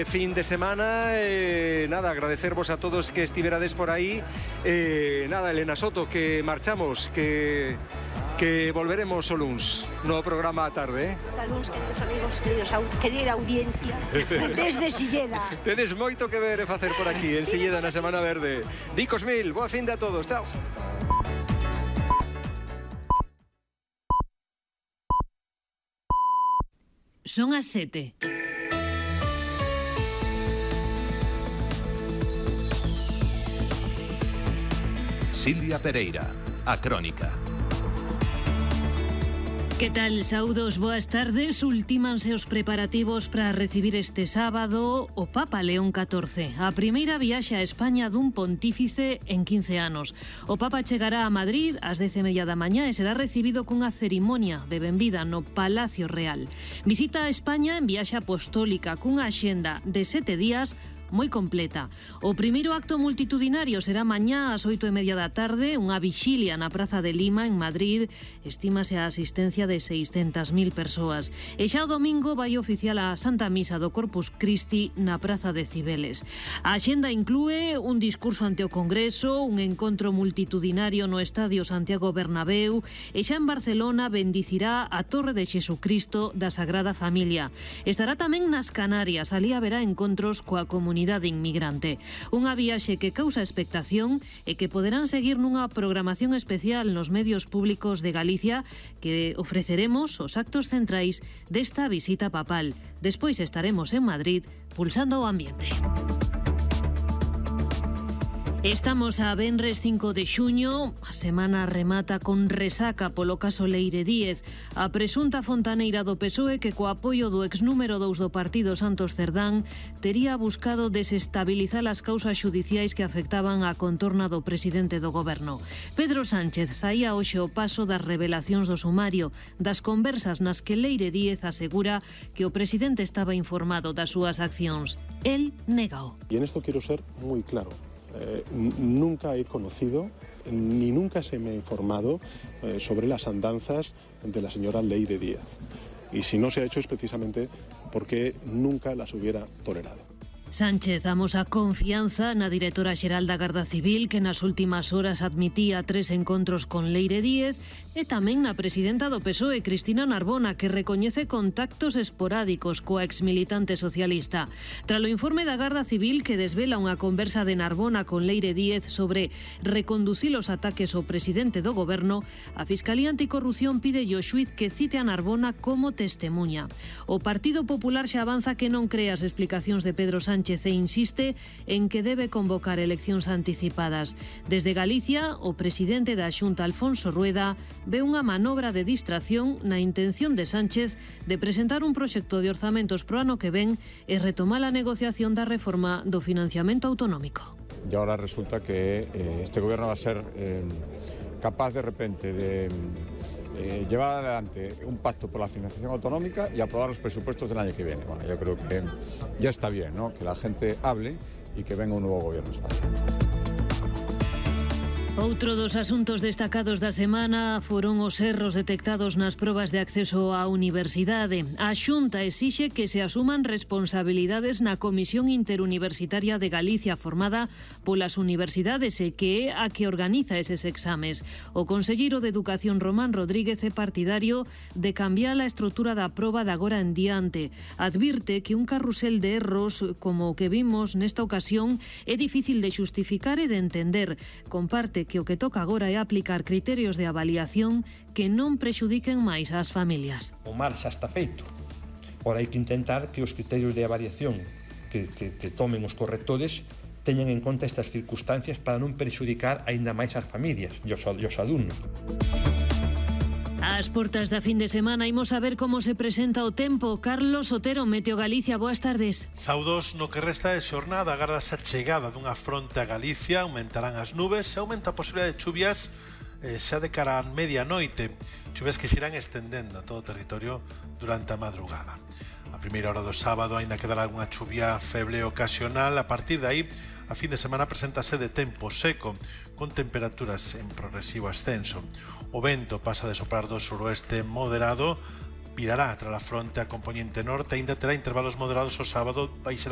este fin de semana. Nada, agradecervos a todos que estiverades por aí. Nada, Elena Soto, que marchamos, que volveremos o luns no programa a tarde. A luns, queridos amigos, querida audiencia, desde Silleda. Tedes moito que ver e facer por aquí, en Silleda, na Semana Verde. Dicos mil, boa fin de a todos, chao. Son as 7. Silvia Pereira, a Crónica. Que tal, saudos, boas tardes. Ultímanse os preparativos para recibir este sábado o Papa León XIV, a primeira viaxe a España dun pontífice en 15 anos. O Papa chegará a Madrid ás 10:30 da mañá e será recibido cunha cerimonia de benvida no Palacio Real. Visita a España en viaxe apostólica cunha axenda de 7 días moi completa. O primeiro acto multitudinario será mañá ás 8:30 da tarde, unha vixilia na Praza de Lima, en Madrid. Estímase a asistencia de 600.000 persoas. E xa o domingo vai oficial a Santa Misa do Corpus Christi na Praza de Cibeles. A axenda inclúe un discurso ante o Congreso, un encontro multitudinario no Estadio Santiago Bernabéu e xa en Barcelona bendicirá a Torre de Xesucristo da Sagrada Familia. Estará tamén nas Canarias, alí haberá encontros coa comunidade inmigrante. Unha viaxe que causa expectación e que poderán seguir nunha programación especial nos medios públicos de Galicia que ofreceremos os actos centrais desta visita papal. Despois estaremos en Madrid pulsando o ambiente. Estamos a venres 5 de xuño, a semana remata con resaca polo caso Leire Díez. A presunta fontaneira do PSOE que co apoio do exnúmero 2 do partido Santos Cerdán tería buscado desestabilizar as causas xudiciais que afectaban a contorna do presidente do goberno. Pedro Sánchez saía hoxe o paso das revelacións do sumario, das conversas nas que Leire Díez asegura que o presidente estaba informado das súas accións. El négao. Y en esto quiero ser muy claro. Nunca he conocido ni nunca se me ha informado sobre las andanzas de la señora Leire Díez. Y si no se ha hecho es precisamente porque nunca las hubiera tolerado. Sánchez amosa confianza na directora xeral da Garda Civil que nas últimas horas admitía 3 encontros con Leire Díez e tamén na presidenta do PSOE, Cristina Narbona, que recoñece contactos esporádicos coa exmilitante socialista. Tras o informe da Garda Civil que desvela unha conversa de Narbona con Leire Díez sobre reconducir os ataques ao presidente do goberno, a Fiscalía Anticorrupción pide ao xuíz que cite a Narbona como testemunha. O Partido Popular xa avanza que non cree as explicacións de Pedro Sánchez e insiste en que debe convocar eleccións anticipadas. Desde Galicia, o presidente da Xunta, Alfonso Rueda, ve unha manobra de distracción na intención de Sánchez de presentar un proxecto de orzamentos pro ano que ven e retomar a negociación da reforma do financiamento autonómico. Y ahora resulta que este gobierno va a ser capaz de repente de llevar adelante un pacto por la financiación autonómica y aprobar los presupuestos del año que viene. Bueno, yo creo que ya está bien, ¿no?, que la gente hable y que venga un nuevo gobierno en España. Outro dos asuntos destacados da semana foron os erros detectados nas probas de acceso á universidade. A Xunta exixe que se asuman responsabilidades na Comisión Interuniversitaria de Galicia formada polas universidades e que é a que organiza eses exames. O conselleiro de Educación, Román Rodríguez, é partidario de cambiar a estrutura da proba de agora en diante. Advirte que un carrusel de erros como o que vimos nesta ocasión é difícil de xustificar e de entender. Comparte que o que toca agora é aplicar criterios de avaliación que non prexudiquen máis ás familias. O mar xa está feito. Ora hai que intentar que os criterios de avaliación que tomen os correctores teñan en conta estas circunstancias para non prexudicar aínda máis ás familias e aos alumnos. Ás portas da fin de semana imos a ver como se presenta o tempo. Carlos Otero, Meteo Galicia, boas tardes. Saudos, no que resta de xornada agárdase a chegada dunha fronte a Galicia, aumentarán as nubes e aumenta a posibilidade de chuvias xa de cara a medianoite, chuvias que se irán estendendo a todo o territorio durante a madrugada. A primeira hora do sábado aínda quedará algunha chuvia feble ocasional. A partir de aí, a fin de semana preséntase de tempo seco, con temperaturas en progresivo ascenso. O vento pasa de soprar do suroeste moderado, virará tras a fronte a componente norte, aínda terá intervalos moderados o sábado, baixará